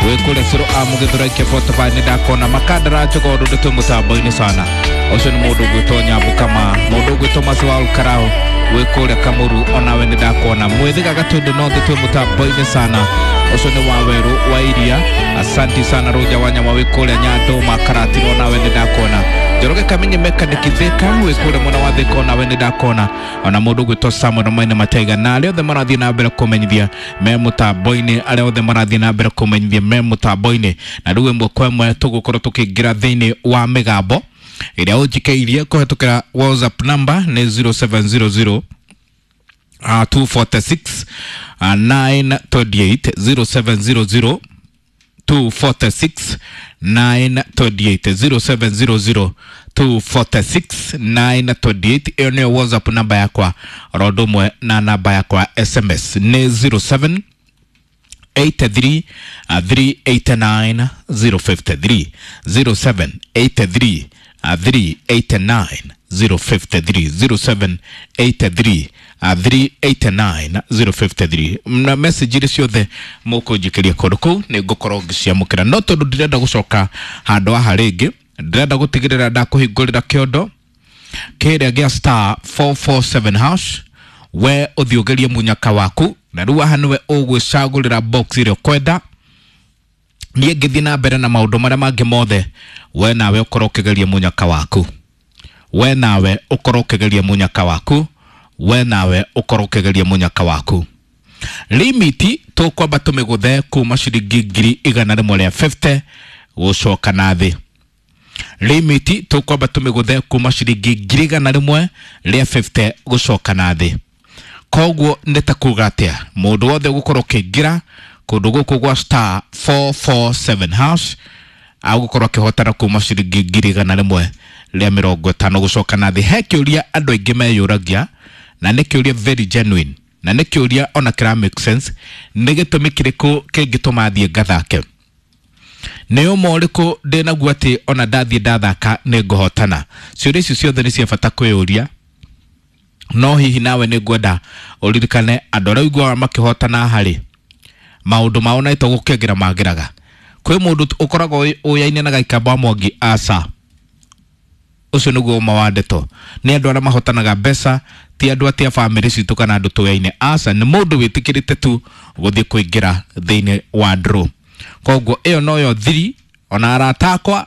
Wĩ kũrĩa Cũrũ a Mũgĩthũrai Kĩbotoba nĩ ndakona Makandara Njogoo ndũ twĩ mũtambo-inĩ sana. Ũcio nĩ mũndũ ũgwĩtwo Nyambu Kama, mũndũ ũgwĩtwo Masiwal Karau wĩ kũrĩa Kamũru, onawe nĩ ndakona. Mwĩthĩga Gatũndũ North twĩ mũtambo-inĩ sana. Ũcio nĩ Wawerũ wa Iria, asanti sana. Rũnja wa Nyama wĩ kũrĩa Nyandũma Karatina, onawe nĩ ndakona. Njoroge Kamenyi Mechanic Thika wĩ kũrĩa mwena wa Thika, onawe nĩ ndakona. Ona mũndũ ũgwĩtwo Samuel Maina Mataiga na arĩa othe marathiĩ na mbere kũmenyithia me mũtambo-inĩ, arĩa othe marathiĩ na mbere kũmenyithia me mũtambo-inĩ. Na rĩu ĩmwe kwa ĩmwe tũgũkorwo tũkĩingĩra thĩinĩ wa mĩgambo ĩrĩa ũnjikĩirie kũhetũkĩra WhatsApp number nĩ 0700 246 928, 0700 246 928, 0700 246 928. Ĩyo nĩyo WhatsApp namba yakwa, oro ũndũ ũmwe na namba yakwa SMS nĩ 07 83 389 053, 07 83 389 053, 07 83 389 053. Na message iria ciothe mũkũnjikĩria kũndũ kũu nĩ ngũkorwo ngĩciamũkĩra, no tondũ ndirenda gũcoka handũ haha rĩngĩ, ndĩrenda gũtigĩrĩra ndakũhingũrĩra kĩondo kĩrĩa gĩa star 447 hash, we ũthiĩ ũgerie mũnyaka waku. Na rĩu haha nĩwe ũgwĩcagũrĩra box ĩrĩa ũkwenda. Niĩ ngĩthiĩ na mbere na maũndũ marĩa mangĩ mothe, we nawe ũkorwo ũkĩgeria mũnyaka waku, we nawe ũkorwo ũkĩgeria mũnyaka waku, we nawe ũkorwo ũkĩgeria mũnyaka waku. Limiti tũkwamba tũmĩgũthe kuma ciringi 150,000 gũcoka na thĩ. Limiti tũkwamba tũmĩgũthe kuma ciringi 150,000 gũcoka na thĩ. Koguo nĩ ta kuga atĩa, mũndũ wothe ũgũkorwo ũkĩingĩra kũndũ gũkũ gwa star 447 hash agũkorwo akĩhotana kuma ciringi 150,000 gũcoka na thĩ. He kĩũria andũ aingĩ meyũragia, na nĩ kĩũria very genuine, na nĩ kĩũria ona kĩra make sense: nĩ gĩtũmi kĩrĩkũ kĩngĩtũma thiĩ ngathake? Nĩ ũma ũrĩkũ ndĩnaguo atĩ ona ndathiĩ ndathaka nĩ ngũhotana? Ciũria icio ciothe nĩ cia bata kwĩyũria. No hihi nawe nĩ ngwenda ũririkane, andũ arĩa ũiguaga makĩhotana harĩ maũndũ mao na ito gũkĩngĩra mangĩraga kwĩ mũndũ ũkoragwo ũyaine na Gaikamba wa Mwangi? Aca, ũcio nĩguo ũma wa ndeto. Nĩ andũ arĩa mahotanaga mbeca, ti andũ atĩ a bamĩrĩ citũ kana andũ tũyaine. Aca, nĩ mũndũ wĩtĩkĩrĩte tu gũthiĩ kũingĩra thĩinĩ wa draw. Koguo ĩyo noyo thiri. Ona arata akwa,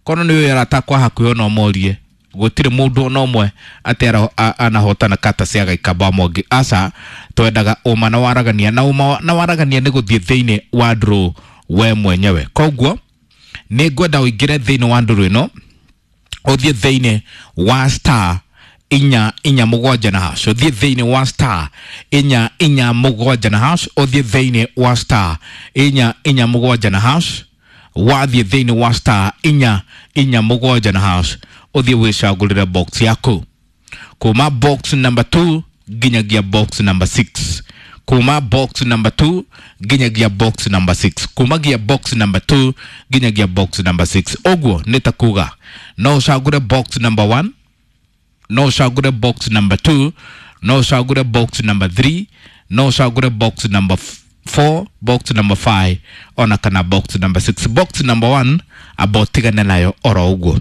kono nĩ ũyũ, arata akwa hakuhĩ, ona ũmorie, gũtirĩ mũndũ ona ũmwe atĩ anahotana kata cia Gaikamba wa Mwangi. Aca, twendaga ũma na waragania, na ũma na waragania nĩ gũthiĩ thĩinĩ wa draw we mwenyewe. Koguo nĩ ngwenda ũingĩre thĩinĩ wa draw ĩno, ũthiĩ thĩinĩ wa star 447 na hash, ũthiĩ thĩinĩ wa star 447 na hash, ũthiĩ thĩinĩ wa star 447 na hash. Wathiĩ thĩinĩ wa star 447 na hash, ũthiĩ wĩcagũrĩre box yaku kuma box number 2 nginyagia box number 6, kuma box number 2 nginyagia box number 6, kumagia box number 2 nginyagia box number 6. Ũguo nĩ ta kuga no ũcagũre box number 1, no ũcagũre box number 2, no ũcagũre box number 3, no ũcagũre box number 4, box number 5, ona kana box number 6. Box number 1 amba ũtigane nayo oro ũguo.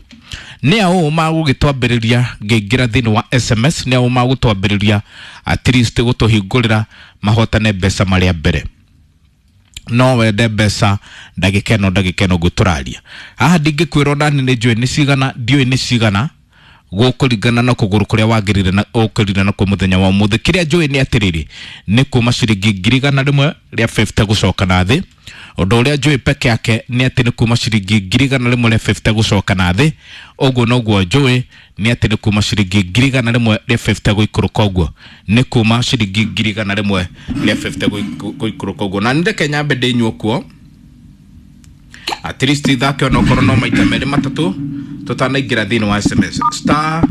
Nĩ aũ magũgĩtwambĩrĩria ngĩingĩra thĩinĩ wa SMS? Nĩ aũ magũtwambĩrĩria at least gũtũhingũrĩra mahotane mbeca marĩa mbere? No wende mbeca ndagĩka ĩno, ndagĩka ĩno ngũtũraria haha, ndingĩkwĩra ona nĩ njũĩ nĩ cigana, ndiũĩ nĩ cigana, gũkũringana na kũgũrũ kũrĩa wagĩrĩire na ũkĩrire na kũ mũthenya wa ũmũthĩ. Kĩrĩa njũĩ nĩ atĩrĩrĩ, nĩ kuma ciringi 150,000 gũcoka na thĩ. Ũndũ ũrĩa njũĩ peke yake nĩ atĩ nĩ kuma ciringi 150,000 gũcoka na thĩ. Ũguo noguo njũĩ nĩ atĩ nĩ kuma ciringi 150,000 gũikũrũka ũguo, nĩ kuma ciringi 150,000 gũikũrũka ũguo. Na nĩndeke nyambe ndĩnyue kuo at least thake ona okorwo no maita merĩ matatũ tũtanaingĩra thĩinĩ wa SMS. Star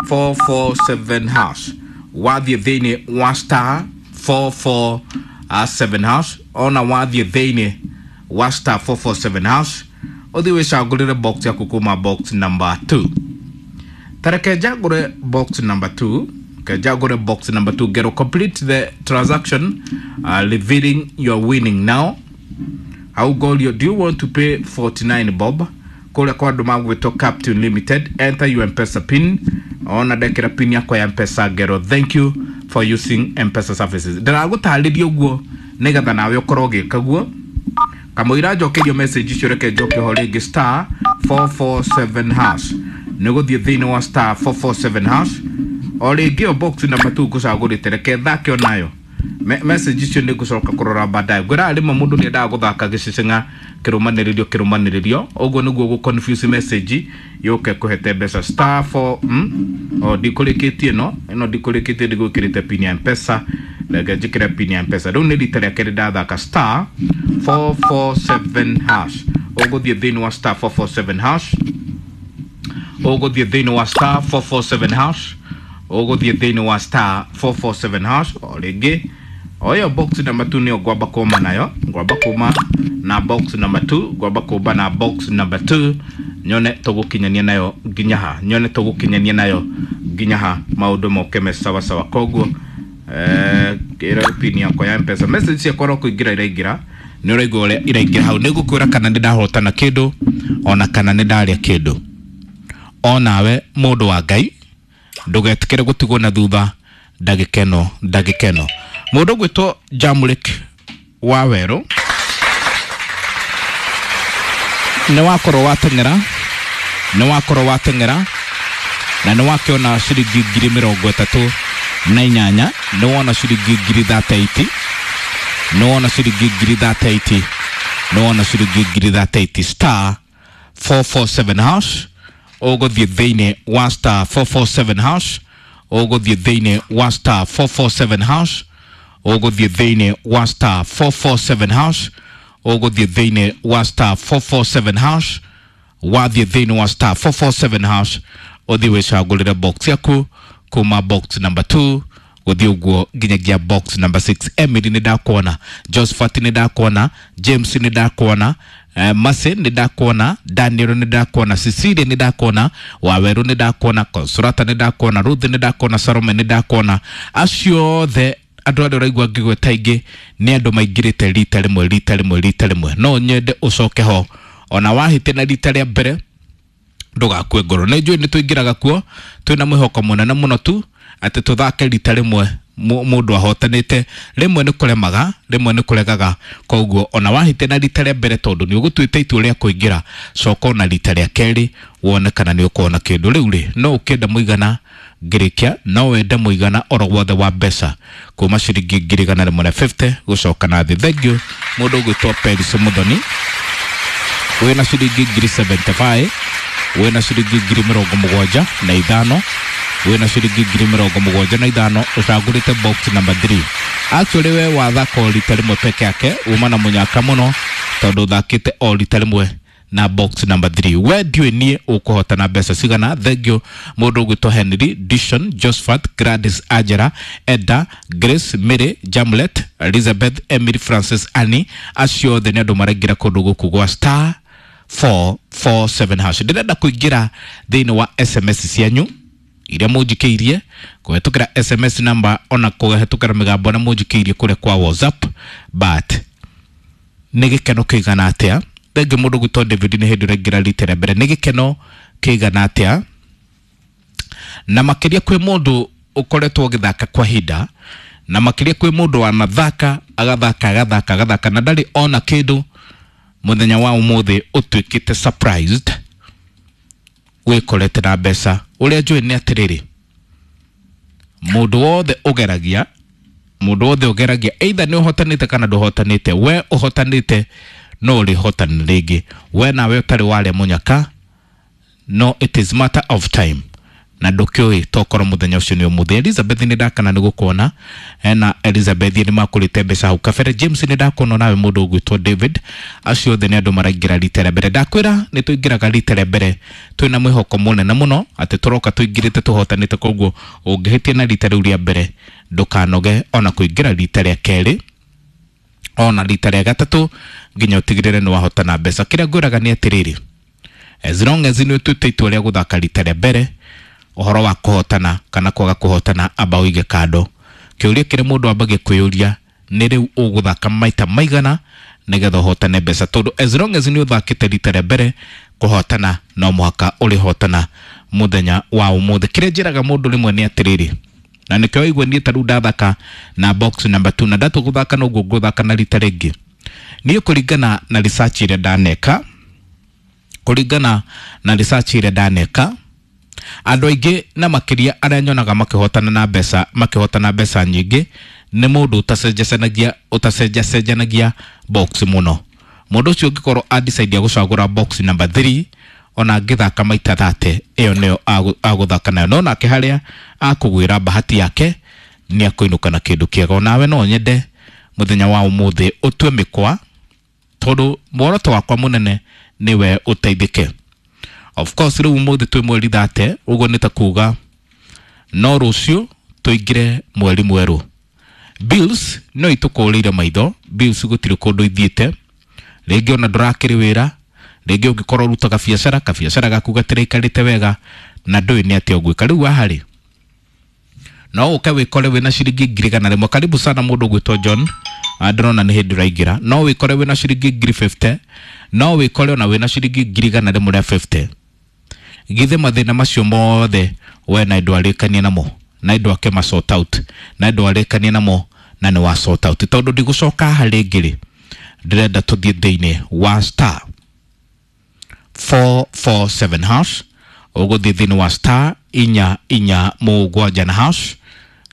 447 hash, wathiĩ thĩinĩ wa star 447 hash, ona wathiĩ thĩinĩ wa star 447 hash, ũthiĩ wĩcagũrĩre box yaku kuma box number 2. Tareke njagũre box number 2, ke njagũre box number 2, ngero complete the transaction, revealing your winning now. Hau ngorio, do you want to pay 49 bob? Kũrĩa kwa andũ magwĩtwo Captain Limited, enter your M-Pesa pin. Ona ndekĩra pin yakwa ya M-Pesa, ngero thank you for using M-Pesa services. Ndĩragũtarĩria ũguo nĩgetha nawe ũkorwo ũgĩka guo. Kamũira njokerio message icio, reke njoke ho rĩngĩ. Star 447 hash, nĩ gũthiĩ thĩinĩ wa star 447 hash o rĩngĩ. O box number 2 ngũcagũrĩte, reke thake onayo. Message icio nĩ ngũcoka kũrora baadaye. Ngwĩraga rĩmwe mũndũ nĩ endaga gũthaka gĩcicing'a kĩrũmanĩrĩrio kĩrũmanĩrĩrio, ũguo nĩguo gũ confuse message yũke kũhete mbeca. Star 4 o ndikũrĩkĩtie ĩno, ĩno ndikũrĩkĩtie, ndigwĩkĩrĩte pin ya M-Pesa. Reke njĩkĩre pin ya M-Pesa. Rĩu nĩ rita rĩa kerĩ ndathaka star 447 hash. Ũgũthiĩ thĩinĩ wa star 447 hash, ũgũthiĩ thĩinĩ wa star 447 hash, ũgũthiĩ thĩinĩ wa star 447 hash o rĩngĩ. O ĩyo box number 2 nĩyo ngwamba kũma nayo, ngwamba kũma na box number 2, ngwamba kũmba na box number 2, nyone tũgũkinyania nayo nginya ha, nyone tũgũkinyania nayo nginya ha, maũndũ moke me sawa sawa. Koguo ĩra pin yakwa ya M-Pesa. Message ciakwa ro kũingĩra iraingĩra, nĩ ũraigua ũrĩa iraingĩra hau. Nĩ ngũkwĩra kana nĩ ndahotana kĩndũ ona kana nĩ ndarĩa kĩndũ. Onawe mũndũ wa Ngai, ndũgetĩkĩre gũtigwo na thutha ndagĩka ĩno, ndagĩka ĩno. Mũndũ ũgwĩtwo Jamlik wa Werũ, nĩ wakorwo wateng'era, nĩ wakorwo wateng'era na nĩ wakĩona ciringi 38,000, nĩ wona ciringi 38,000, nĩ wona ciringi 38,000, nĩ wona ciringi 38,000. Star 447 hash, ũgũthiĩ thĩinĩ wa star 447 hash, ũgũthiĩ thĩinĩ wa star 447 hash, ũgũthiĩ thĩinĩ wa star 447 hash, ũgũthiĩ thĩinĩ wa star 447 hash. Wathiĩ thĩinĩ wa star 447 hash, ũthiĩ wĩcagũrĩre box yaku kuma box number 2 gũthiĩ ũguo nginyagia box number 6. Emily nĩ ndakuona, Josephat nĩ ndakuona, James nĩ ndakuona, Mase nĩ ndakuona, Daniel nĩ ndakuona, Cecilia nĩ ndakuona, Waweru nĩ ndakuona, Consolata nĩ ndakuona, Ruth nĩ ndakuona, Salome nĩ ndakuona. Acio othe andũ arĩa ũraigua ngĩgweta aingĩ nĩ andũ maingĩrĩte rita rĩmwe, rita rĩmwe, rita rĩmwe. No nyende ũcoke ho ona wahĩtia na rita rĩa mbere, ndũgakue ngoro. Nĩ njũĩ nĩ tũingĩraga kuo twĩna mwĩhoko mũnene mũno tu atĩ tũthake rita rĩmwe mũndũ ahotanĩte. Rĩmwe nĩ kũremaga, rĩmwe nĩ kũregaga. Koguo ona wahĩtia na rita rĩa mbere, tondũ nĩ ũgũtuĩte itua rĩa kũingĩra, coka ona rita rĩa kerĩ wone kana nĩ ũkuona kĩndũ. Rĩu rĩ, no ũkĩenda mũigana ngĩrĩkia, no wende mũigana oro wothe wa mbeca kuma ciringi 150,000 gũcoka na thĩ. Thank you. Mũndũ ũgwĩtwo Peris Mũthoni, wĩna ciringi 75,000, wĩna ciringi 75,000, wĩna ciringi 75,000, ũcagũrĩte box number 3. Actually we wathaka o rita rĩmwe peke yake, uma na mũnyaka mũno tondũ ũthakĩte o rita rĩmwe na box number 3. We ndiũĩ niĩ ũkũhotana mbeca cigana. Thank you. Mũndũ ũgwĩtwo Henry Dishon, Josephat, Gladys, Angela, Eda, Grace, Mary, Jamlet, Elizabeth, Emily, Francis, Annie, acio othe nĩ andũ maraingĩra kũndũ gũkũ gwa star 447 hash. Ndĩrenda kũingĩra thĩinĩ wa SMS cianyu iria mũnjikĩirie kũhetũkĩra SMS number ona kũhetũkĩra mĩgambo na mũnjikĩirie kũrĩa kwa WhatsApp, but nĩ gĩkeno kĩigana atĩa. Thengi mũndũ gwĩtwo David, nĩ hĩndĩ ũraingĩra rita rĩa mbere. Nĩ gĩkeno kĩigana atĩa, na makĩria kwĩ mũndũ ũkoretwo ũgĩthaka kwa ihinda, na makĩria kwĩ mũndũ wanathaka, agathaka, agathaka, agathaka na ndarĩ ona kĩndũ, mũthenya wa ũmũthĩ ũtuĩkĩte surprised wĩkorete na mbeca. Ũrĩa njũĩ nĩ atĩrĩrĩ, mũndũ wothe ũgeragia, mũndũ wothe ũgeragia, either nĩ ũhotanĩte kana ndũhotanĩte, we ũhotanĩte no ũrĩhotana rĩngĩ. We nawe ũtarĩ warĩa mũnyaka, no it is matter of time, na ndũkĩũĩ tokorwo mũthenya ũcio nĩ ũmũthĩ. Elizabeth nĩ ndakana nĩ gũkuona, ena Elizabeth nĩ makũrĩte mbeca hau kabere. James nĩ ndakuona, nawe mũndũ ũgwĩtwo David. Acio othe nĩ andũ maraingĩra rita rĩa mbere. Ndakwĩra nĩ tũingĩraga rita rĩa mbere twĩna mwĩhoko mũnene mũno atĩ tũroka tũingĩrĩte tũhotanĩte. Koguo ũngĩhĩtia na rita rĩu rĩa mbere, ndũkanoge ona kũingĩra rita rĩa kerĩ ona rita rĩa gatatũ nginya ũtigĩrĩre nĩ wahotana mbeca. Kĩrĩa ngwĩraga nĩ atĩrĩrĩ, as long as nĩ ũtuĩte itua rĩa gũthaka rita rĩa mbere, ũhoro wa kũhotana kana kwaga kũhotana amba ũige kando. Kĩũria kĩrĩa mũndũ ambagia kwĩyũria nĩ rĩu ũgũthaka maita maigana Nĩgetha ũhotane mbeca, tondũ as long as nĩ ũthakĩte rita rĩa mbere, kũhotana no mũhaka ũrĩhotana mũthenya wa ũmũthĩ. Kĩrĩa njĩraga mũndũ rĩmwe nĩ atĩrĩrĩ, na nĩkĩo waigua niĩ ta rĩu ndathaka na box number 2, na ndatua gũthaka noguo ngũthaka na rita rĩngĩ. Niĩ kũringana na research ĩrĩa ndaneka, kũringana na research ĩrĩa ndaneka, andũ aingĩ na makĩria arĩa nyonaga makĩhotana na mbeca, makĩhotana mbeca nyingĩ, nĩ mũndũ ũtacenjacanagia, ũtacenjacenjanagia box mũno. Mũndũ ũcio ũngĩkorwo adecide gũcagũra box number 3, ona angĩthaka maita 30, ĩyo nĩyo agũthaka nayo. No nake harĩa akũgwĩra bahati yake nĩ akũinũka na kĩndũ kĩega. Onawe no nyende mũthenya wa ũmũthĩ ũtue mĩkwa, tondũ muoroto wakwa mũnene nĩwe ũteithĩke. Of course rĩu ũmũthĩ twĩ mweri 30, ũguo nĩ ta kuga no rũciũ tũingĩre mweri mwerũ. Bills no itũkũrĩire maitho, bills gũtirĩ kũndũ ithiĩte, rĩngĩ ona ndũrakĩrĩ wĩra, rĩngĩ ũngĩkorwo ũrutaga biacara, kabiacara gaku gatiraikarĩte wega na ndũĩ nĩ atĩa ũgwĩka. Rĩu haha rĩ, no ũke wĩkore wĩna ciringi 100,000. Karibu sana mũndũ ũgwĩtwo John, ndĩrona nĩ hĩndĩ ũraingĩra. No wĩkore wĩna ciringi 50,000, no wĩkore ona wĩna ciringi 150,000. Githĩ mathĩna macio mothe we na ndwarĩkanie namo, na ndwake ma sort out, na ndwarĩkanie namo na nĩ wa sort out. Tondũ ndigũcoka haha rĩngĩ rĩ, ndĩrenda tũthiĩ thĩinĩ wa star 447 hash. Ũgũthiĩ thĩinĩ wa star 447 na hash,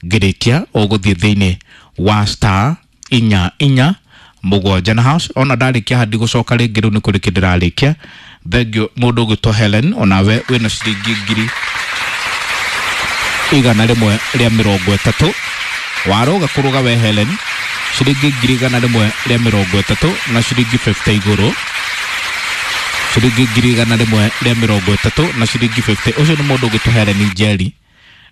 ngĩrĩkia ũgũthiĩ thĩinĩ wa star 447 na hash. Ona ndarĩkia haha ndigũcoka rĩngĩ, rĩu nĩ kũrĩkia ndĩrarĩkia. Thengiũ mũndũ ũgwĩtwo Helen, onawe wĩna ciringi 130,000. Waroga kũrũga we Helen, ciringi 130,000 na ciringi 50 igũrũ, ciringi 130,000 na ciringi 50. Ũcio nĩ mũndũ ũgwĩtwo Helen Njeri,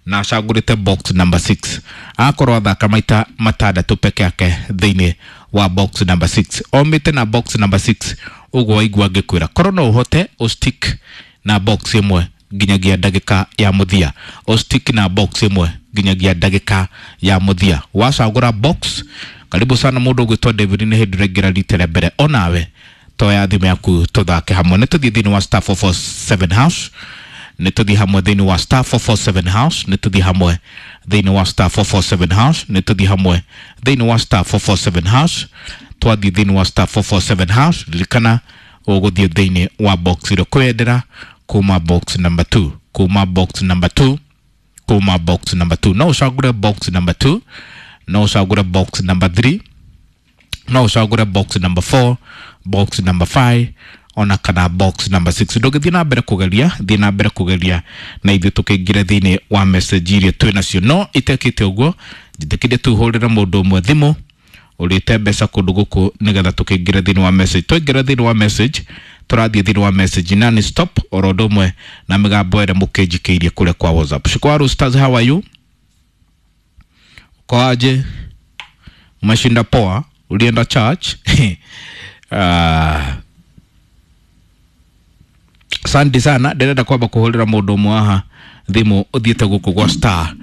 na acagũrĩte box number 6. Akorwo athaka maita matandatũ peke yake thĩinĩ wa box number 6, omĩte na box number 6. Ũguo waigua ngĩkwĩra, korwo no ũhote ũstick na box ĩmwe nginyagia ndagĩka ya mũthia, ũstick na box ĩmwe nginyagia ndagĩka ya mũthia wacagũra box. Karibu sana mũndũ ũgwĩtwo David, nĩ hĩndĩ ũraingĩra rita rĩa mbere. Onawe toya thimũ yaku tũthake hamwe. Nĩ tũthiĩ thĩinĩ wa star 447 hash, nĩ tũthiĩ hamwe thĩinĩ wa star 447 hash, nĩ tũthiĩ hamwe thĩinĩ wa star 447 hash, nĩ tũthiĩ hamwe thĩinĩ wa star 447 hash. Twathiĩ thĩinĩ wa star 447 hash, ririkana ũgũthiĩ thĩinĩ wa box ĩrĩa ũkwendera, kuma box number 2, kuma box number 2, kuma box number 2. No ũcagũre box number 2, no ũcagũre box number 3, no ũcagũre box number 4, box number 5, ona kana box number 6. Ndũngĩthiĩ na mbere kũgeria, thiĩ na mbere kũgeria na ithuĩ tũkĩingĩre thĩinĩ wa message iria twĩ nacio. No itekĩte ũguo, njĩtĩkĩrie tũhũrĩre mũndũ ũmwe thimũ ũrĩte mbeca kũndũ gũkũ, nĩgetha tũkĩingĩre thĩinĩ wa message. Twaingĩra thĩinĩ wa message, tũrathiĩ thĩinĩ wa message na nĩ stop oro ũndũ ũmwe na mĩgambo ĩrĩa mũkĩnjikĩirie kũrĩa kwa WhatsApp. Shukwaru Stars, how are you? Uko aje? Umeshinda poa? Ulienda church? Asante sana. Ndĩrenda kwamba kũhũrĩra mũndũ ũmwe haha thimũ ũthiĩte gũkũ gwa star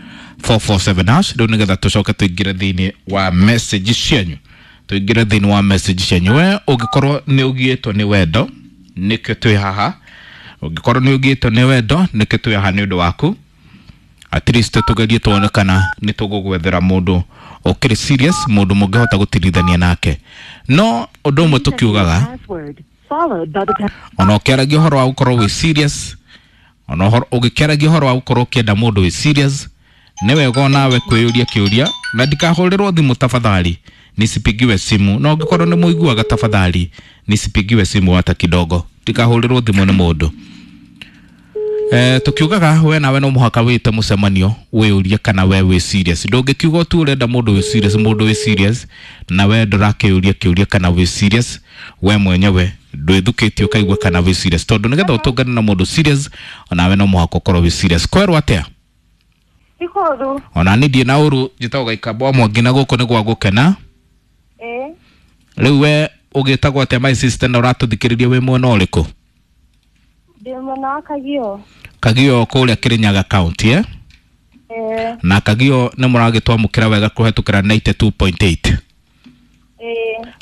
447 hash rĩu, nĩgetha tũcoke tũingĩre thĩinĩ wa message cianyu, tũingĩre thĩinĩ wa message cianyu. We ũngĩkorwo nĩ ũgiĩtwo nĩ wendo, nĩkĩo twĩ haha. Ũngĩkorwo nĩ ũgiĩtwo nĩ wendo, nĩkĩo twĩ haha nĩ ũndũ waku. At least tũgerie tuone kana nĩ tũgũgwethera mũndũ ũkĩrĩ serious, mũndũ mũngĩhota gũtirithania nake. No ũndũ ũmwe tũkiugaga, ona ũkĩaragia ũhoro wa gũkorwo wĩ serious, ona ũgĩkĩaragia ũhoro wa gũkorwo ũkĩenda mũndũ wĩ serious, nĩ wega onawe kwĩyũria kĩũria. Na ndikahũrĩrwo thimũ tafadhali, nisipigiwe simu. Na ũngĩkorwo nĩ mũiguaga, tafadhali nisipigiwe simu hata kidogo, ndikahũrĩrwo thimũ nĩ mũndũ. Tukiugaga we nawe no mũhaka wĩte mũcemanio wĩyũrie kana we wĩ serious. Ndũngĩkiuga tu ũrenda mũndũ wĩ serious, mũndũ wĩ serious, na we ndũrakĩũria kĩũria kana wĩ serious. We mwenyewe ndwĩthukĩtie ũkaigua kana wĩ serious, tondũ nĩgetha ũtũngane na mũndũ serious, onawe no mũhaka ũkorwo wĩ serious. Kwerwo atĩa? Ikoru. Ona niĩ ndirĩ na ũru. Njĩtagwo Gaikamba wa Mwangi, na gũkũ nĩ gwa gũkena. Rĩu we ũgĩtagwo atĩa, my sister, na ũratũthikĩrĩria wĩ mwena ũrĩkũ? Ndĩ mwena wa Kagio. Kagio kũrĩa Kirinyaga County, eh? Ĩĩ. Na Kagio nĩ mũragĩtwamũkĩra wega kũhetũkĩra 92.8?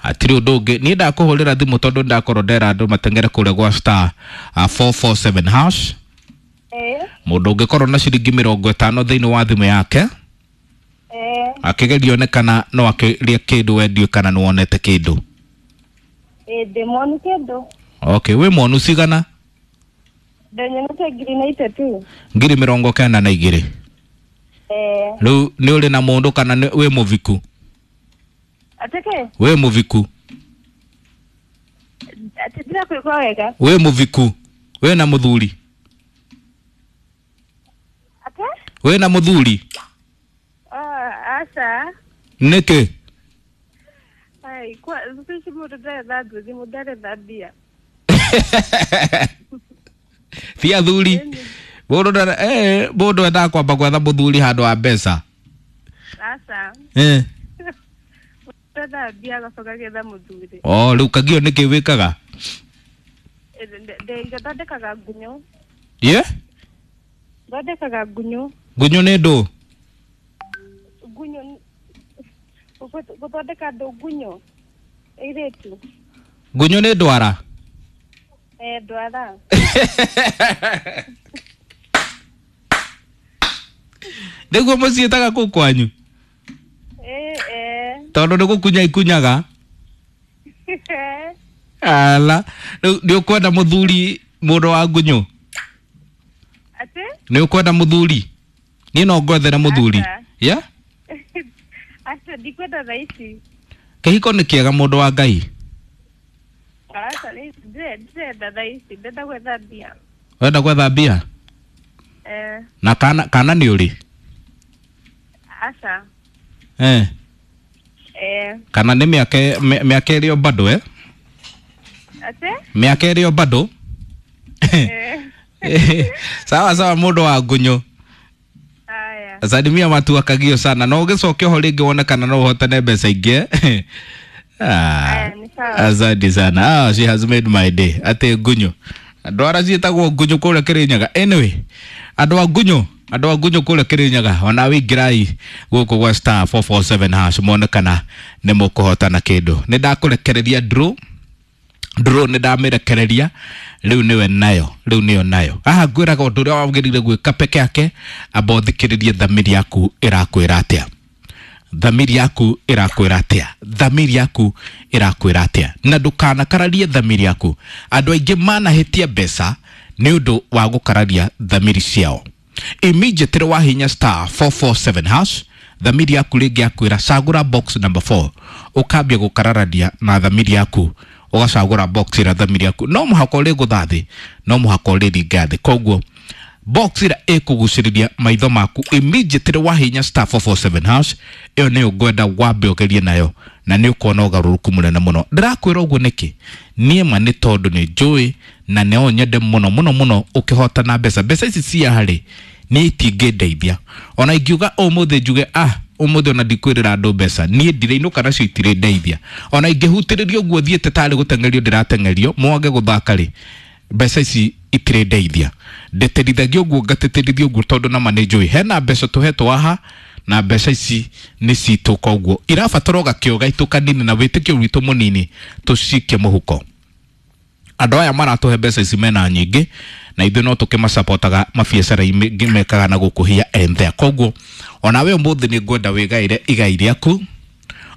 Hatirĩ ũndũ ũngĩ niĩ ndakũhũrĩra thimũ tondũ ndakorwo ndera andũ mateng'ere kũrĩa gwa star 447 hash. Mũndũ ũngĩkorwo na ciringi 50 thĩinĩ wa thimũ yake akĩgeria one kana no akĩrĩe kĩndũ wendio kana nĩ wonete kĩndũ. Ndĩ mwonu kĩndũ. Okay, wĩ mwonu cigana? Ndenyonete 93. 92. Rĩu nĩ ũrĩ na mũndũ kana wĩ mũviku? Atĩkĩ? Wĩ mũviku? Atĩ ndirakwĩgua wega. Wĩ mũviku? Wĩ na mũthuri? Atĩ? Wĩ na mũthuri? Aca. Nĩkĩ? Ai, kwa thikũ ici mũndũ ndaretha nduthi, mũndũ aretha mbia. Ti athuri. Mũndũ ndare mũndũ endaga kwamba gwetha mũthuri handũ ha mbeca. Aca. Mũndũ ethaga mbia agacoka agetha mũthuri. Oh, rĩu Kagio nĩkĩ wĩkaga? Thondekaga ngunyũ. Ye? Thondekaga ngunyũ. Ngunyũ nĩ ndũ? Ngunyũ gũthondeka ndũ ngunyũ. Airĩtu. Ngunyũ nĩ ndwara? Ndwara. Nĩguo mũciĩtaga kũu kwanyu? Tondũ nĩ gũkunya ikunyaga? Ala, rĩu nĩ ũkwenda mũthuri mũndũ wa ngunyũ? Atĩ? Nĩ ũkwenda mũthuri? Niĩ no ngwethere mũthuri. Yeah? Aca, ndikwenda thaa ici. Kĩhiko nĩ kĩega mũndũ wa Ngai. Aca, ndirenda thaa ici, ndenda gwetha mbia. Wenda gwetha mbia? Na kana nĩ ũrĩ? Aca. Kana nĩ mĩaka ĩrĩ o bado Atĩ? Mĩaka ĩrĩ o bado? Sawa sawa mũndũ wa ngunyũ. Aya. Salimia watu wa Kagio sana. No ũgĩcoke ho rĩngĩ wone kana no ũhotane mbeca ingĩ. Asante sana. She has made my day. Atĩ ngunyũ. Andũ arĩa ciĩtagwo ngunyũ kũrĩa Kĩrĩnyaga. Anyway, andũ a ngunyũ, andũ a ngunyũ kũrĩa Kĩrĩnyaga, ona wĩingĩrai gũkũ gwa star 447 hash muone kana nĩ mũkũhotana kĩndũ. Nĩ ndakũrekereria draw. Draw nĩ ndamĩrekereria rĩu nĩwe nayo, rĩu nĩyo nayo. Haha ngwĩraga ũndũ ũrĩa wagĩrĩire gwĩka peke yake, amba ũthikĩrĩrie thamiri yaku ĩrakwĩra atĩa. Thamiri yaku ĩrakwĩra atĩa. Thamiri yaku ĩrakwĩra atĩa. Na ndũkanakararie thamiri yaku. Andũ aingĩ manahĩtia mbeca nĩ ũndũ wa gũkararia thamiri ciao. Immediately wahinya star 447 hash, thamiri yaku rĩngĩ yakwĩra cagũra box number 4. Ũkambia gũkararania na thamiri yaku, ũgacagũra box ĩrĩa thamiri yaku no mũhaka ũrĩgũtha thĩ, no mũhaka ũrĩringa thĩ. Koguo box ĩrĩa ĩkũgucĩrĩria maitho maku immediately wahinya star 447 hash, ĩyo nĩyo ngwenda wambe ũgerie nayo na nĩ ũkuona ũgarũrũku mũnene mũno. Ndĩrakwĩra ũguo nĩkĩ? Niĩ ma nĩ tondũ nĩ njũĩ na no nyende mũno mũno mũno ũkĩhotana mbeca. Mbeca ici cia harĩ niĩ itingĩndeithia. Ona ingiuga ũmũthĩ njuge ũmũthĩ ona ndikwĩrĩra andũ mbeca, niĩ ndirĩinũka nacio itirĩndeithia. Ona ingĩhutĩrĩria ũguo thiĩte tarĩ gũteng'erio ndĩrateng'erio mwage gũthaka rĩ, mbeca ici itirĩndeithia. Ndĩtĩrithagia ũguo ngatĩtĩrithia ũguo tondũ nama nĩ njũĩ hena mbeca tũhetwo haha na mbeca ici nĩ citũ, koguo irabatara gakĩo gaitũ kanini na wĩtĩkio witũ mũnini tũcikie mũhuko. Andũ aya maratũhe mbeca ici mena nyingĩ na ithuĩ no tũkĩmacapotaga mabiacara-inĩ mekaga na gũkũ here and there. Koguo onawe ũmũthĩ nĩ ngwenda wĩgaĩre igai rĩaku,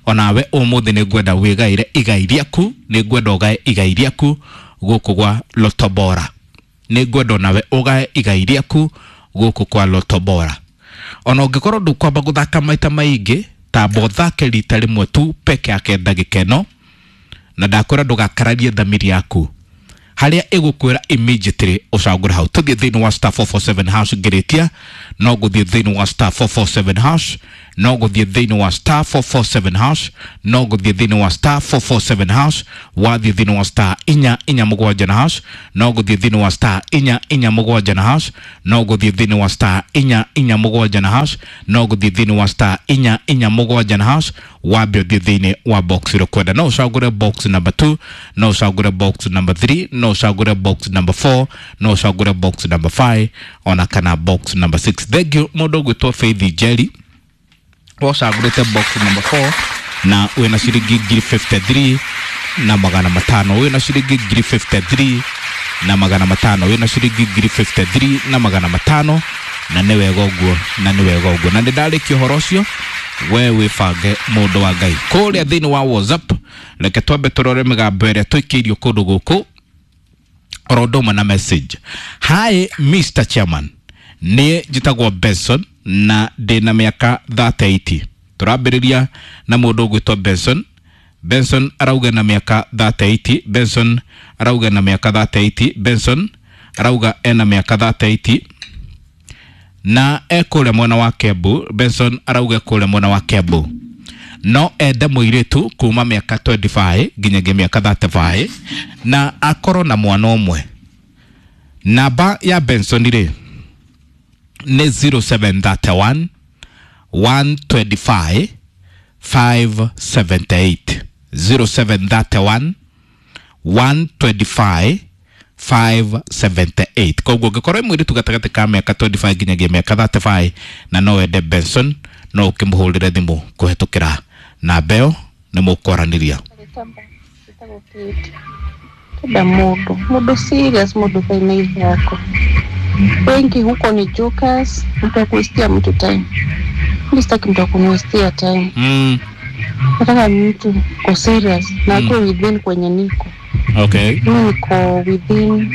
onawe ũmũthĩ nĩ ngwenda wĩgaĩre igai rĩaku, nĩ ngwenda ũgae igai rĩaku gũkũ gwa Lotto Bora. Nĩ ngwenda onawe ũgae igai rĩaku gũkũ kwa Lotto Bora. Ona ũngĩkorwo ndũkwamba gũthaka maita maingĩ, tamba ũthake rita rĩmwe tu peke yake ndagĩka ĩno, na ndakwĩra ndũgakararie thamiri yaku harĩa ĩgũkwĩra immediately ũcagũre hau. Tũthiĩ thĩinĩ wa star 447 hash ngĩrĩkia, no gũthiĩ thĩinĩ wa star 447 hash, no gũthiĩ thĩinĩ wa star 447 hash, no gũthiĩ thĩinĩ wa star 447 hash, wathiĩ thĩinĩ wa star 447 na hash, no gũthiĩ thĩinĩ wa star 447 na hash, no gũthiĩ thĩinĩ wa star 447 na hash, no gũthiĩ thĩinĩ wa star 447 na hash, wambe ũthiĩ thĩinĩ wa box ĩrĩa ũkwenda. No ũcagũre box number 2, no ũcagũre box number 3, no ũcagũre box number 4, no ũcagũre box number 5, ona kana box number 6. Thank you mũndũ ũgwĩtwo Faith Njeri wacagũrĩte box number 4. Na wĩna ciringi ngiri 53 na magana matano, wĩna ciringi ngiri 53 na magana matano, wĩna ciringi ngiri 53 na magana matano. Na nĩ wega ũguo, na nĩ wega ũguo, na nĩ ndarĩkia ũhoro ũcio. We wĩbange, mũndũ wa Ngai, kũrĩa thĩinĩ wa WhatsApp. Reke twambe tũrore mĩgambo ĩrĩa tũikĩirio kũndũ gũkũ oro ũndũ ũmwe na message. Hi Mr Chairman, niĩ njĩtagwo Benson na ndĩna mĩaka 38. Tũrambĩrĩria na mũndũ ũgwĩtwo Benson. Benson arauga na mĩaka 38. Benson arauga na mĩaka 38. Benson arauga ena mĩaka 38 na ekũrĩa mwena wa Kiambu. Benson arauga kũrĩa mwena wa Kiambu, no ende mũirĩtu kuma mĩaka 25 nginyagia mĩaka 35 na akorwo na mwana ũmwe. Namba ya Benson rĩ nĩ 0731 125 578, 0731 125 578. Koguo ũngĩkorwo wĩ mũirĩtu gatagatĩ ka mĩaka 25 nginyagia mĩaka 35 na no wende Benson, no ũkĩmũhũrĩre thimũ kũhetũkĩra namba ĩyo, nĩ mũkwaranĩria. Kenda mundu mundu serious, mundu kaina ithako. Wengi huko ni jokers, mtu akuistia mtu time. Mimi sitaki mtu akuniwestia time. Nataka mtu ko serious na akuwe within kwenye niko. Mimi niko within,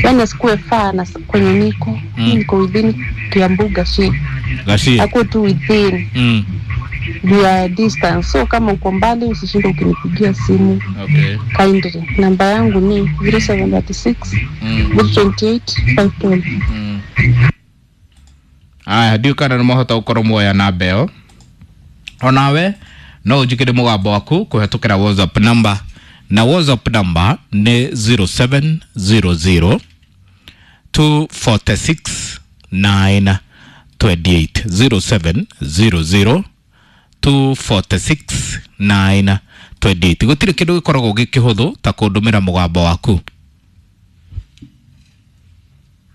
yani asikuwe far na kwenye niko. Mimi niko within Kiambu Gachie. Gachie. Akuwe tu within ya distance, so kama uko mbali usishinde ukinipigia simu. Kindly, namba yangu ni 0736 028 512. Aya, ndiũ kana nĩ mwahota gũkorwo muoya namba ĩyo. Onawe no ũnjĩkĩre mũgambo waku kũhetũkĩra WhatsApp number, na WhatsApp number nĩ 0700 246 928, 0700 246 928. Gũtirĩ kĩndũ gĩkoragwo gĩ kĩhũthũ ta kũndũmĩra mũgambo waku.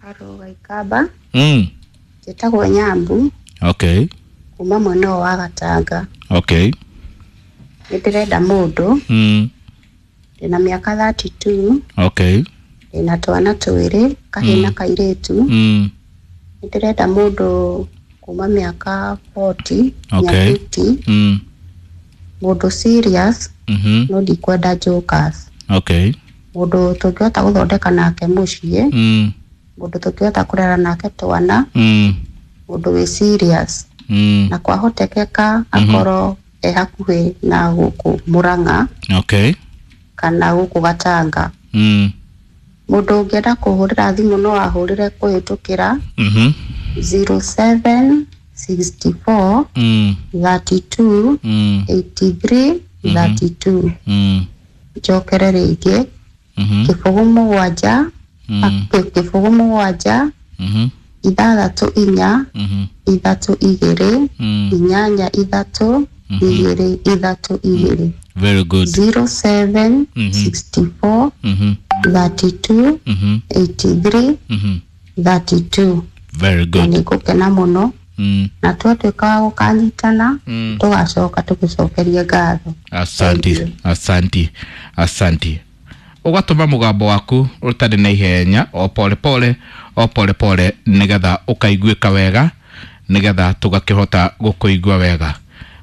Haro Gaikaba. Njĩtagwo Nyambu kuma mwena ũyũ wa Gatanga. Nĩ ndĩrenda mũndũ. Ndĩna mĩaka 32. Ndĩna twana twĩrĩ, kahĩĩ na kairĩtu. Nĩ ndĩrenda mũndũ kuma mĩaka 40 nginya 50. Mũndũ serious, no ndikwenda jokers. Mũndũ tũngĩhota gũthondeka nake mũciĩ. Mũndũ tũngĩhota kũrera nake twana. Mũndũ wĩ serious. Na kwahotekeka akorwo e hakuhĩ na gũkũ Murang'a kana gũkũ Gatanga. Mũndũ ũngĩenda kũhũrĩra thimũ no ahũrĩre kũhĩtũkĩra 0764 32 83 32. Njokere rĩngĩ: 0 7, 0 7, 6 4, 3 2, 8 3 2 3 2. Very good. 07 64 32 83 32. Very Na good. nĩ ngũkena mũno na twatuĩka wa gũkanyitana, tũgacoka tũgũcokerie ngatho. Asanti. Thank you. Asanti, asanti. Ũgatũma mũgambo waku ũtarĩ na ihenya, o pole pole, o pole pole, nĩgetha ũkaiguĩka wega, nĩgetha tũgakĩhota gũkũigua wega.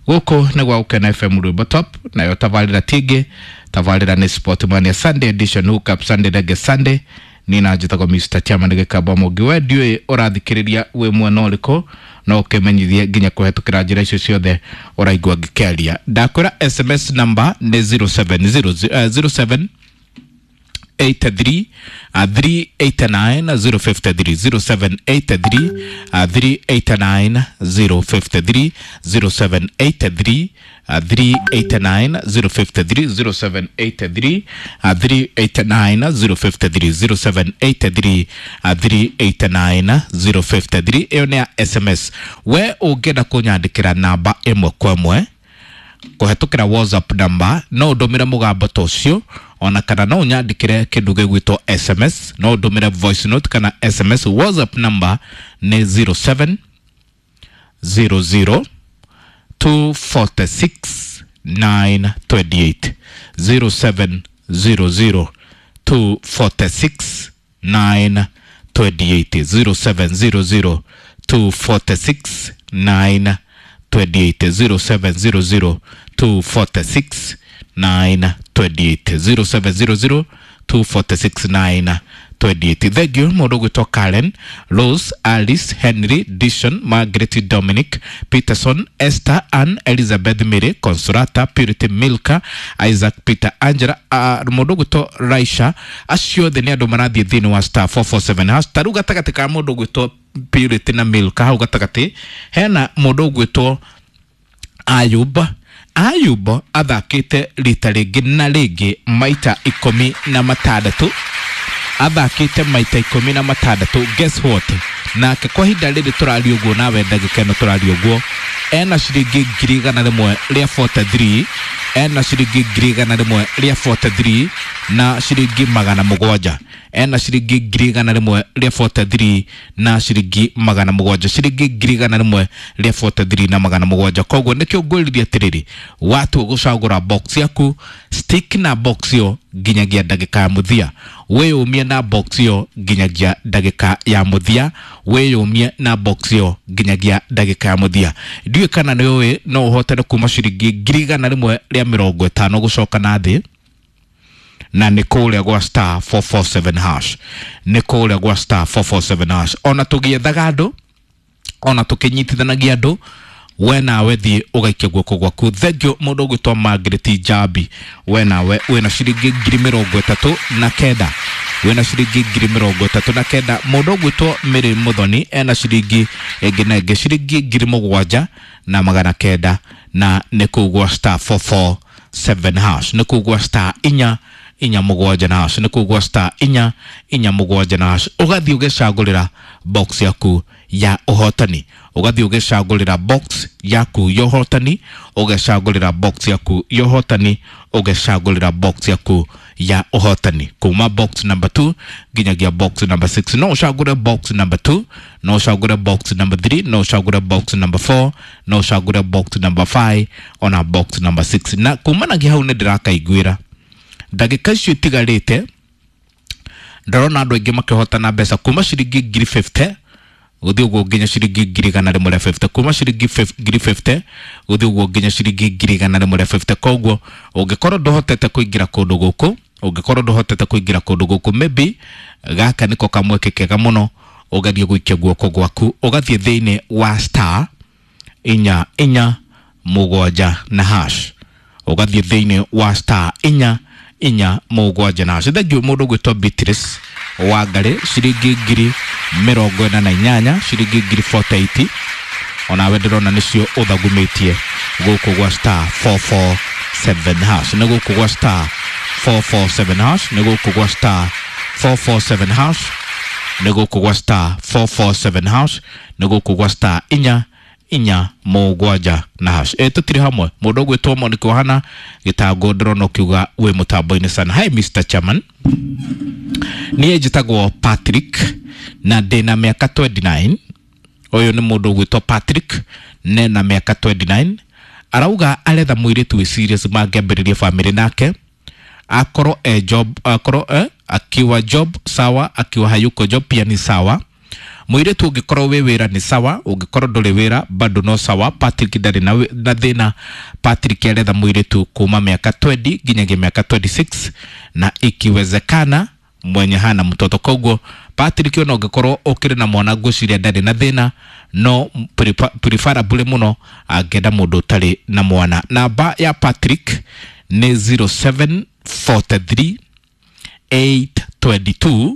Gũkũ nĩ gwa Gũkena FM, Rwĩmbo Top, nayo tabarĩra tingĩ, tabarĩra nĩ Sport Mania Sunday Edition, Hook Up Sunday, Reggae Sunday. Niĩ na njĩtagwo Mr Chairman Gĩkamba Mũngĩ. We ndiũĩ ũrathikĩrĩria wĩ mwena ũrĩkũ, no ũkĩmenyithie nginya kũhetũkĩra njĩra icio ciothe ũraigua ngĩkĩaria. Ndakwĩra SMS number nĩ 0700 07 83 389 053, 0783 389 053, 0783 389 053, 0783 389 053, 0783 389 053. Ĩyo nĩ ya SMS. We ũngĩenda kũnyandĩkĩra namba ĩmwe kwa ĩmwe kũhetũkĩra WhatsApp number, no ũndũmĩre mũgambo ta ũcio, ona kana no ũnyandĩkĩre kĩndũ gĩgwĩtwo SMS, no ũndũmĩre voice note kana SMS. WhatsApp number nĩ 07 00. 246 928, 0700 246 928, 0700 246 928, 0700 246 928, 0700 246 928. Thank you mũndũ ũgwĩtwo Karen, Rose, Alice, Henry, Dishon, Margaret, Dominic, Peterson, Esther, Ann, Elizabeth, Mary, Consolata, Purity, Milka, Isaac, Peter, Angela, mũndũ ũgwĩtwo Raisha, acio othe nĩ andũ marathiĩ thĩinĩ wa star 447 hash. Ta rĩu gatagatĩ ka mũndũ ũgwĩtwo Purity na Milka hau gatagatĩ hena mũndũ ũgwĩtwo Ayub. Ayub athakĩte rita rĩngĩ na rĩngĩ maita 16, athakĩte maita 16. Guess what, nake kwa ihinda rĩrĩ tũraria ũguo nawe ndagĩka ĩno tũraria ũguo ena ciringi 143, ena ciringi 143 na ciringi 700, ena ciringi 143 na ciringi 700, ciringi 143 na 700. Koguo nĩkĩo ngwĩrire atĩrĩrĩ, watua gũcagũra box yaku, stick na box ĩyo nginyagia ndagĩka ya mũthia, wĩyũmie na box ĩyo nginyagia ndagĩka ya mũthia, wĩyũmie na box ĩyo nginyagia ndagĩka ya mũthia. Ndiũĩ kana nĩ ũĩ no ũhotane kuma ciringi 150 gũcoka na thĩ, na nĩ kũrĩa gwa star 447 hash, nĩ kũrĩa gwa star 447 hash. Ona tũgĩethaga andũ, ona tũkĩnyitithanagia andũ, we nawe thiĩ ũgaikia guoko gwaku. Thengiũ mũndũ ũgwĩtwo Margaret Njambi, we nawe wĩna ciringi 39,000, wĩna ciringi 39,000. Mũndũ ũgwĩtwo Mary Muthoni ena ciringi ĩngĩ na ĩngĩ ciringi 7,900, na nĩ kũu gwa star 447 hash, nĩ kũu gwa star 447 na hash, nĩ kũu gwa star 447 na hash. Ũgathiĩ ũgecagũrĩra box yaku ya ũhotani, ũgathiĩ ũgecagũrĩra box yaku ya ũhotani, ũgecagũrĩra box yaku ya ũhotani, ũgecagũrĩra box yaku ya ũhotani kuma box number 2 nginyagia box number 6. No ũcagũre box number 2, no ũcagũre box number 3, no ũcagũre box number 4, no ũcagũre box number 5 ona box number 6. Na kumanagia hau nĩ ndĩrakaiguĩra ndagĩka icio itigarĩte, ndĩrona andũ aingĩ makĩhotana mbeca kuma ciringi 50,000 gũthiĩ ũguo nginya ciringi 150,000, kuma ciringi 50,000 gũthiĩ ũguo nginya ciringi 150,000. Koguo ũngĩkorwo ndũhotete kũingĩra kũndũ gũkũ, ũngĩkorwo ndũhotete kũingĩra kũndũ gũkũ, maybe gaka nĩko kamweke kega mũno ũgerie gũikia guoko gwaku, ũgathiĩ thĩinĩ wa star 447 na hash, ũgathiĩ thĩinĩ wa star 447 na hash. Thengiũ mũndũ ũgwĩtwo Beatrice Wangari, ciringi 48,000, ciringi 48,000, onawe ndĩrona nĩcio ũthagumĩtie gũkũ gwa star 447 hash, nĩ gũkũ gwa star 447 hash, nĩ gũkũ gwa star 447 hash, nĩ gũkũ gwa star 447 hash, nĩ gũkũ gwa star 447 na hash. Tũtirĩ hamwe. Mũndũ ũgwĩtwo Monica Ohana gĩtango ndĩrona ũkiuga wĩ mũtambo-inĩ sana. Hi Mr. Chairman, niĩ njĩtagwo Patrick na ndĩna mĩaka 29. Ũyũ nĩ mũndũ ũgwĩtwo Patrick nena mĩaka 29, arauga aretha mũirĩtu wĩ serious mangĩambĩrĩria family nake, akorwo e job, akorwo akiwa job sawa, akiwa hayuko job pia ni sawa. Mũirĩtu ũngĩkorwo wĩ wĩra nĩ sawa, ũngĩkorwo ndũrĩ wĩra bado no sawa. Patrick ndarĩ na thĩna. Patrick aretha mũirĩtu kuma mĩaka 20 nginyagia mĩaka 26 na ikiwezekana mwenye hana mtoto. Koguo Patrick ona ũngĩkorwo ũkĩrĩ na mwana ngwĩciria ndarĩ na thĩna, no preferably mũno angĩenda mũndũ ũtarĩ na mwana. Namba ya Patrick nĩ 0743 822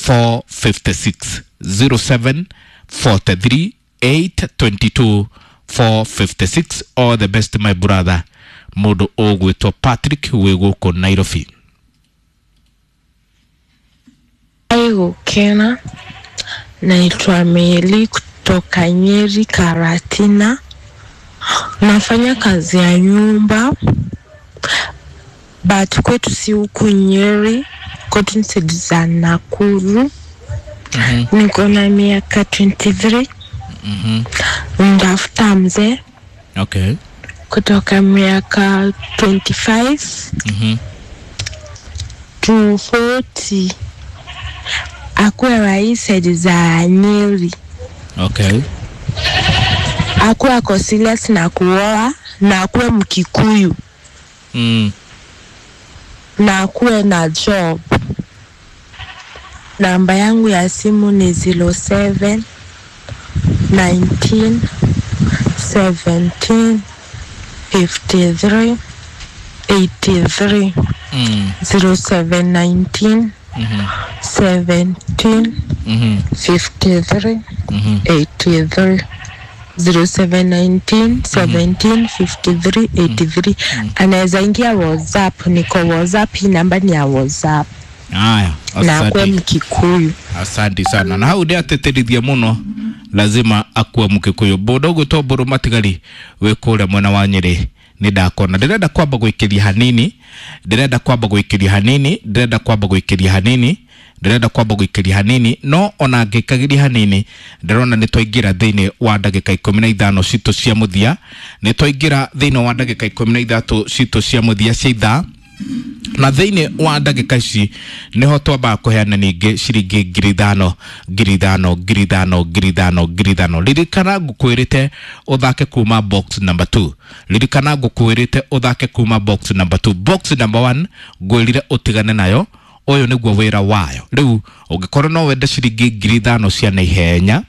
456, 0743 822 456. All the best my brother, mũndũ ũgwĩtwo Patrick wĩ gũkũ Nairobi. Gukena, naitwa Meli kutoka Nyeri Karatina. Nafanya kazi ya nyumba but kwetu si huku Nyeri, kwetu ni side za Nakuru. Niko na miaka 23. Ndafuta mzee Okay. Kutoka miaka 25 to 40. Akuwe wa hii side za Nyeri. Okay. Akuwe ako serious na kuoa na akuwe Mkikuyu. Na akuwe na job. Namba yangu ya simu ni 07 19 17 53 83. 07 19 17 53 83. 07 19 17 53 83. Anaweza ingia WhatsApp, niko WhatsApp, hii namba ni ya WhatsApp. Aya, Na akuwe asante. Mkikuyu. Asante sana. Na hau ndiateterithia muno, lazima akue Mkikuyu. Mũndũ ũgwĩtwo Mbũrũ Matigari wĩ kũrĩa mwena wa Nyĩrĩ nĩ ndakona. Ndĩrenda kwamba gũikĩria hanini, ndĩrenda kwamba gũikĩria hanini, ndĩrenda kwamba gũikĩria hanini, ndĩrenda kwamba gũikĩria hanini, no ona ngĩkagĩria hanini ndĩrona nĩ twaingĩra thĩinĩ wa ndagĩka 15 citũ cia mũthia, nĩ twaingĩra thĩinĩ wa ndagĩka 13 citũ cia mũthia cia ithaa, na thĩinĩ wa ndagĩka ici nĩho twambaga kũheana ningĩ ciringi 5,000 5,000 5,000 5,000 5,000. Ririkana ngũkwĩrĩte ũthake kuma box number 2. Ririkana ngũkwĩrĩte ũthake kuma box number 2. Box number 1 ngwĩrire ũtigane nayo, ũyũ nĩguo wĩra wayo. Rĩu ũngĩkorwo no wende ciringi 5,000 cia naihenya,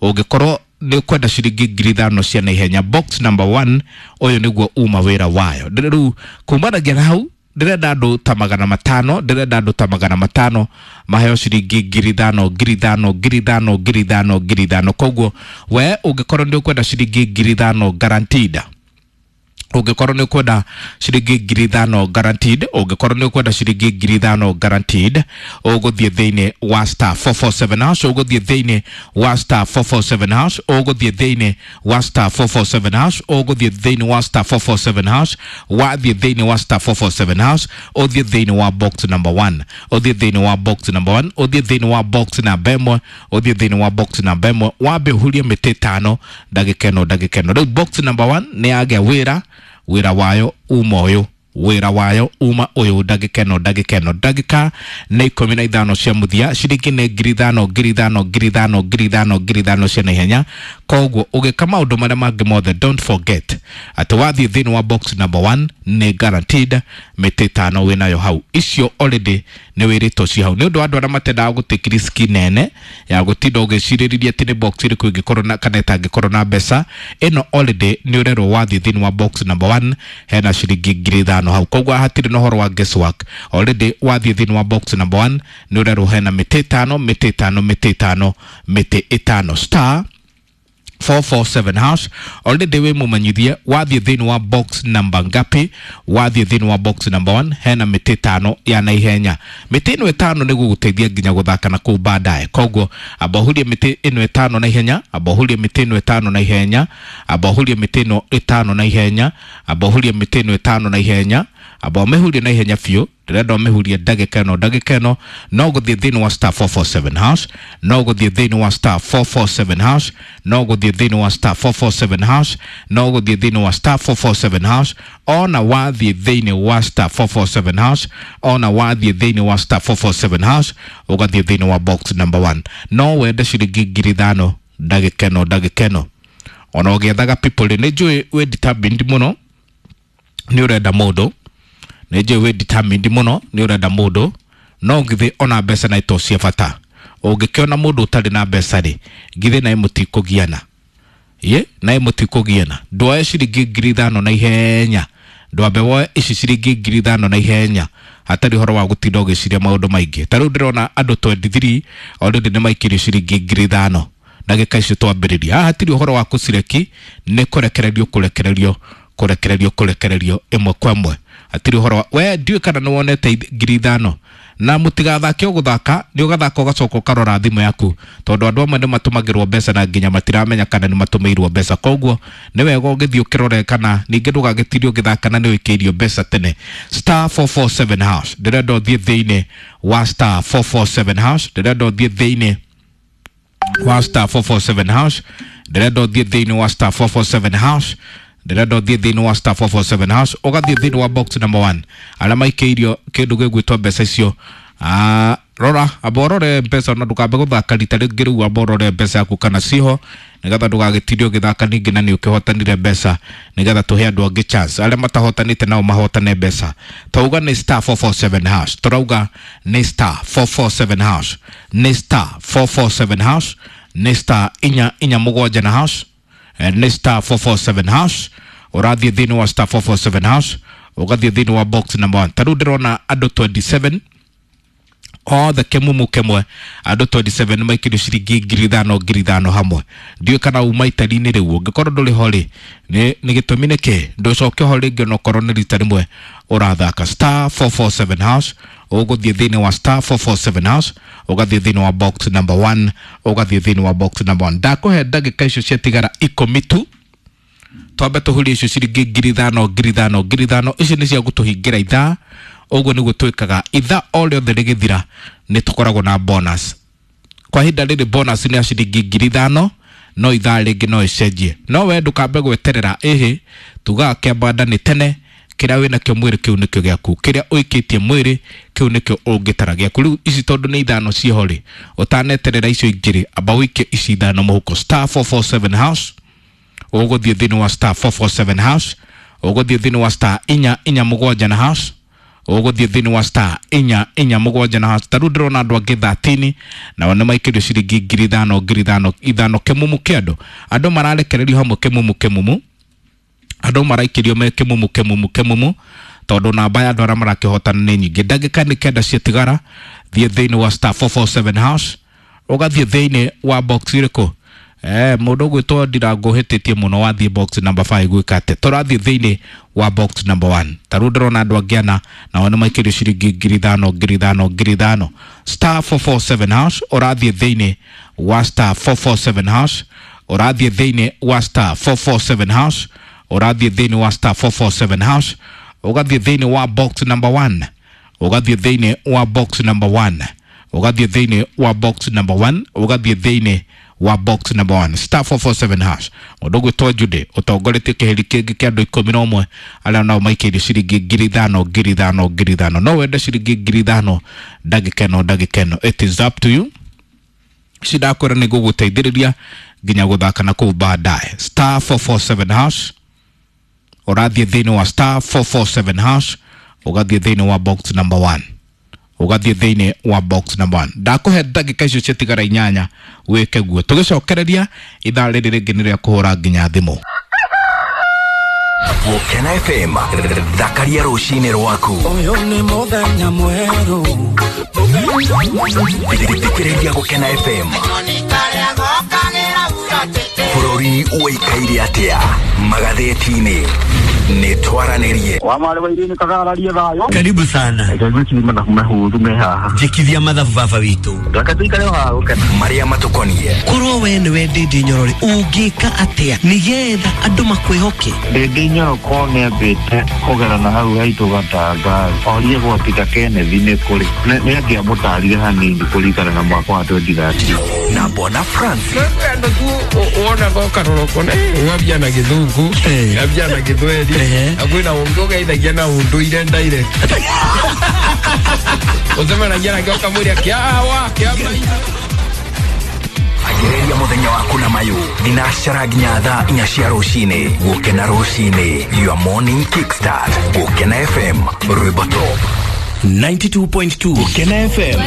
ũngĩkorwo nĩ ũkwenda ciringi 5,000 cia naihenya, box number 1 ũyũ nĩguo uma wĩra wayo. Rĩu kumanagia na hau ndĩrenda andũ ta 500, ndĩrenda andũ ta 500 maheo ciringi 5,000 5,000 5,000 5,000 5,000. Koguo we ũngĩkorwo nĩ ũkwenda ciringi 5,000 guaranteed, ũngĩkorwo nĩ ũkwenda ciringi 5,000 guaranteed, ũngĩkorwo nĩ ũkwenda ciringi 5,000 guaranteed, ũgũthiĩ thĩinĩ wa star 447 hash, ũgũthiĩ thĩinĩ wa star 447 hash, ũgũthiĩ thĩinĩ wa star 447 hash, ũgũthiĩ thĩinĩ wa star 447 hash, wathiĩ thĩinĩ wa star 447 hash, ũthiĩ thĩinĩ wa box number 1, ũthiĩ thĩinĩ wa box number 1, ũthiĩ thĩinĩ wa box namba 1, ũthiĩ thĩinĩ wa box namba 1, wambe ũhurie mĩtĩ 5 ndagĩka ĩno ndagĩka ĩno. Rĩu box number 1 nĩ yagĩa wĩra, wĩra wayo uma ũyũ, wĩra wayo uma ũyũ ndagĩka ĩno ndagĩka ĩno. Ndagĩka nĩ 15 cia mũthia, ciringi nĩ 5,000 5,000 5,000 5,000 5,000 cia naihenya. Koguo ũgĩka maũndũ marĩa mangĩ mothe, don't forget atĩ wathiĩ thĩinĩ wa box number 1 nĩ guaranteed mĩtĩ 5 wĩnayo hau. Icio already nĩ wĩrĩtwo ci hau. Nĩ ũndũ wa andũ arĩa matendaga gũtake risk nene ya gũtinda ũgĩcirĩrĩria atĩ nĩ box ĩrĩkũ ĩngĩkorwo na kana ĩtangĩkorwo na mbeca, ĩno already nĩ ũrerwo wathiĩ thĩinĩ wa box number 1 hena ciringi 5,000 hau. Koguo hatirĩ na ũhoro wa guesswork. Already wathiĩ thĩinĩ wa box number 1 nĩ ũrerwo hena mĩtĩ 5, mĩtĩ 5, mĩtĩ 5, mĩtĩ 5. Star 447 hash. Already wĩ mũmenyithie wathiĩ thĩinĩ wa box number ngapi, wathiĩ thĩinĩ wa box number 1 hena mĩtĩ 5 ya naihenya. Mĩtĩ ĩno 5 nĩ gũgũteithia nginya gũthaka na kũu baadaye. Koguo amba ũhurie mĩtĩ ĩno 5 naihenya, amba ũhurie mĩtĩ ĩno 5 naihenya, amba ũhurie mĩtĩ ĩno 5 naihenya, amba ũhurie mĩtĩ ĩno 5 naihenya, amba ũmĩhurie naihenya biũ. Ndĩrenda ũmĩhurie ndagĩka ĩno ndagĩka ĩno, no gũthiĩ thĩinĩ wa star 447 hash, no gũthiĩ thĩinĩ wa star 447 hash, no gũthiĩ thĩinĩ wa star 447 hash, no gũthiĩ thĩinĩ wa star 447 hash. Ona wathiĩ thĩinĩ wa star 447 hash, ona wathiĩ thĩinĩ wa star 447 hash, ũgathiĩ thĩinĩ wa box number 1. No wende ciringi 5,000 ndagĩka ĩno ndagĩka ĩno. Ona ũgĩethaga people rĩ, nĩ njũĩ wĩ determined mũno, nĩ ũrenda mũndũ, nĩ njũĩ wĩ determined mũno, nĩ ũrenda mũndũ, no githĩ ona mbeca na ito cia bata. Ũngĩkĩona mũndũ ũtarĩ na mbeca rĩ, githĩ naĩ mũtikũgiana? Ye, naĩ mũtikũgiana. Ndwoe ciringi 5,000 na ihenya, ndwambe woe ici ciringi 5,000 na ihenya, hatarĩ ũhoro wa gũtinda ũgĩciria maũndũ maingĩ. Ta rĩu ndĩrona andũ 23 already nĩ maikĩrio ciringi 5,000 ndagĩka icio twambĩrĩria. Haha hatirĩ ũhoro wa kũcireki, nĩ kũrekererio kũrekererio kũrekererio kũrekererio ĩmwe kwa ĩmwe. Hatirĩ ũhoro wa we ndiũĩ kana nĩ wonete 5,000. Na mũtigathake o gũthaka, nĩ ũgathaka ũgacoka ũkarora thimũ yaku, tondũ andũ amwe nĩ matũmagĩrwo mbeca na nginya matiramenya kana nĩ matũmĩirwo mbeca. Koguo nĩ wega ũgĩthiĩ ũkĩrore kana ningĩ ndũgagĩtinde ũgĩthaka na nĩ wĩkĩirio mbeca tene. Star 447 hash, ndĩrenda ũthiĩ thĩinĩ wa star 447 hash, ndĩrenda ũthiĩ thĩinĩ wa star 447 hash, ndĩrenda ũthiĩ thĩinĩ wa star 447 hash, Ndĩrenda ũthiĩ thĩinĩ wa star 447 hash, ũgathiĩ thĩinĩ wa box number 1, arĩa maikĩirio kĩndũ gĩgwĩtwo mbeca icio. Ah, rora, amba ũrore mbeca na ndũkambe gũthaka rita rĩngĩ. Rĩu amba ũrore mbeca yaku kana ciho, nĩgetha ndũgagĩtinde ũgĩthaka ningĩ na nĩ ũkĩhotanire mbeca, nĩgetha tũhe andũ angĩ chance arĩa matahotanĩte nao mahotane mbeca. Twauga nĩ star 447 hash, tũrauga nĩ star 447 hash, nĩ star 447 hash, nĩ star 447 na hash. Nĩ star 447 hash. Ũrathiĩ thĩinĩ wa star 447 hash, ũgathiĩ thĩinĩ wa box number 1. Ta rĩu ndĩrona andũ 27 othe kĩmumu kĩmwe, andũ 27 maikĩrio ciringi 5,000 5,000 hamwe. Ndiũĩ kana uma itari-inĩ rĩu. Ũngĩkorwo ndũrĩ ho rĩ, nĩ gĩtũmi nĩ kĩ ndũcoke ho rĩngĩ, onokorwo nĩ rita rĩmwe ũrathaka. Star 447 hash, ũgũthiĩ thĩinĩ wa star 447 hash, ũgathiĩ thĩinĩ wa box number 1, ũgathiĩ thĩinĩ wa box number 1. Ndakũhe ndagĩka icio ciatigara 10 tu, twambe tũhurie icio ciringi 5,000 5,000 5,000. Icio nĩ cia gũtũhingĩra ithaa. Ũguo nĩguo twĩkaga ithaa o rĩothe rĩgĩthira, nĩ tũkoragwo na bonus. Kwa ihinda rĩrĩ bonus nĩ ya ciringi 5,000, no ithaa rĩngĩ no ĩcenjie. No we ndũkambe gweterera, ĩhĩ tugaga kĩambanda nĩ tene. Kĩrĩa wĩnakĩo mwĩrĩ kĩu nĩkĩo gĩaku, kĩrĩa ũikĩtie mwĩrĩ kĩu nĩkĩo ũngĩtara gĩaku. Rĩu ici tondũ nĩ ithano ciĩho rĩ, ũtaneterera icio ingĩ rĩ, amba ũikie ici ithano mũhuko. Star 447 hash, ũgũthiĩ thĩinĩ wa star 447 hash, ũgũthiĩ thĩinĩ wa star 447 na hash, ũgũthiĩ thĩinĩ wa star 447 na hash. Ta rĩu ndĩrona andũ angĩ 13 nao nĩ maikĩrio ciringi 5,000 5,000 ithano, kĩmumu kĩa andũ. Andũ mararekererio hamwe kĩmumu kĩmumu, andũ maraikĩrio me kĩmumu kĩmumu kĩmumu, tondũ namba ya andũ arĩa marakĩhotana nĩ nyingĩ. Ndagĩka nĩ 9 ciatigara. Thiĩ thĩinĩ wa star 447 hash, ũgathiĩ thĩinĩ wa box ĩrĩkũ? Mũndũ ũgwĩtwo Ndirango hĩtĩtie mũno, wathiĩ box number 5. Gwĩka atĩ tũrathiĩ thĩinĩ wa box number 1. Ta rĩu ndĩrona andũ angĩ ana nao nĩ maikĩrio ciringi 5,000 5,000 5,000. Star 447 hash, ũrathiĩ thĩinĩ wa star 447 hash, ũrathiĩ thĩinĩ wa star 447 hash, ũrathiĩ thĩinĩ wa star 447 hash, ũgathiĩ thĩinĩ wa box number 1, ũgathiĩ thĩinĩ wa box number 1, ũgathiĩ thĩinĩ wa box number 1, ũgathiĩ thĩinĩ wa box number 1, star 447 hash. Mũndũ ũgwĩtwo Jude ũtongoretie kĩheri kĩngĩ kĩa andũ 11 arĩa nao maikĩirio ciringi 5,000 5,000 5,000. No wende ciringi 5,000 ndagĩka ĩno? Ndagĩka ĩno it is up to you. Ici ndakwĩra nĩ ngũgũteithĩrĩria nginya gũthaka na kũu baadaye. Star 447 hash, ũrathiĩ thĩinĩ wa star 447 hash, ũgathiĩ thĩinĩ wa box number 1, ũgathiĩ thĩinĩ wa box number 1. Ndakũhe ndagĩka icio ciatigara 8 wĩke guo. Tũgĩcokereria ithaa rĩrĩ rĩngĩ nĩ rĩa kũhũra nginya thimũ. Gũkena FM, thakaria rũcinĩ rwaku. Ũyũ nĩ mũthenya mwerũ. Thikĩrĩria Gũkena FM. Bũrũri ũikaire atĩa magathĩti-inĩ? Nĩ twaranĩrie. Wa marĩ wa irini kagararie thayũ. Karibu sana. Reke ngwĩcirie mathabu mahũthũ me haha. Njĩkithia mathabu baba witũ. Reke tũikare o haha gũkena. Marĩa matũkonie. Korwo we nĩwe Ndĩndĩ Nyorore, ũngĩka atĩa nĩgetha andũ makwĩhoke? Ndĩndĩ Nyoroko nĩambĩte kũgerana hau haitũ Gatanga, orie gwa Peter Kenneth nĩ kũrĩ. Nĩ angĩamũtarire hanini kũringana na mwaka wa 2013. Na Bona Francis. Andũ tu wonaga ũkaroroko ng'ambia na gĩthũngũ, ng'ambia na gĩthweri, na kwĩna ũngĩ ũgeithagia na ũndũire direct, ũcemanagia nake ũkamwĩra kĩawa kĩa maitũ. Ambĩrĩria mũthenya waku na mayũ thinacara nginya thaa 4 cia rũcinĩ. Gũkena rũcinĩ, your morning kickstart. Gũkena FM, rwĩmbo top. 92.2 Gũkena FM.